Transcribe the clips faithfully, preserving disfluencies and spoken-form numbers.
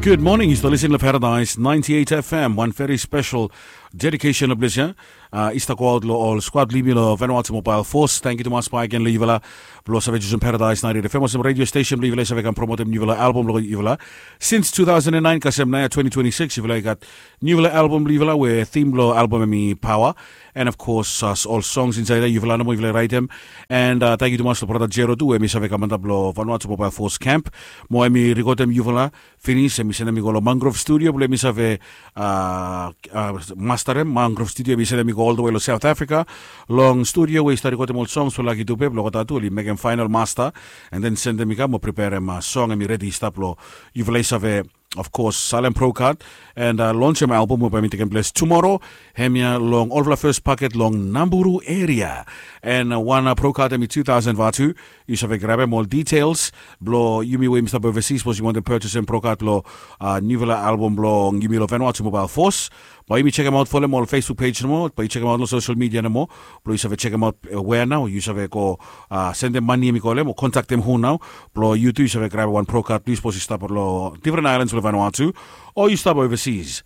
Good morning, yu stap lisin long Paradise ninety-eight F M. Wan very special dedication of this year. Uh, i stap go aut long ol squad blong yumi long Vanuatu Mobile Force. Thank you tumas baik gen long yufala blong save jusum Paradise ninety-eight F M olsem radio station blong yufala i save kam promotem niufala album blong yufala. Since two thousand and nine kasem naoia twenty twenty-six yufala i gat niufala album blong yufala we theme blong album em i power. And of course, uh, ol songs insait ya yufala nomo yufala i raitem. And uh, thank you tumas long brata Jero tu we em i save kam antap long Vanuatu Mobile Force Camp. Mo em i rikodem yufala finis, em i sendem i go long Mangrove Studio blong em i save uh, uh, masterem. Mangrove Studio em i sendem i go ol the way long South Africa. Long studio we i stap rikodem ol songs blong Lucky Dube blong olgeta tu oli mekem final master. And then sendem i kam mo preparem uh, song em i redi i stap long yufala i save of course, salem Pro Card and uh, lonsem album we bae mi tekem ples tumoro. Hemia long olfala first paket long Namburu area. And uh, wan uh, Pro Card em i two thousand vatu. Yu save grabem ol details blong yumi we yumi stap overseas, sapos yu wantem purchasem Pro Card blong uh, niufala album blong yumi long Vanuatu Mobile Force. Bae yumi chekem aut folem ol Facebook page nomo, bae yu chekem aut long social media nomo. Blong yu save chekem aut uh, wea nao yu save go uh, sendem mani em i go long em o kontaktem hu nao. Blong yu tu yu save grabem wan Pro Card plis, sapos yu stap long different islands blong Vanuatu o yu stap overseas.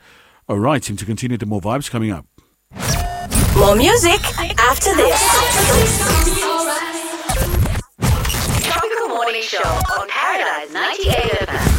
Alright, time to continue the more vibes coming up. More music after this. Tropical Morning Show on Paradise ninety-eight F M.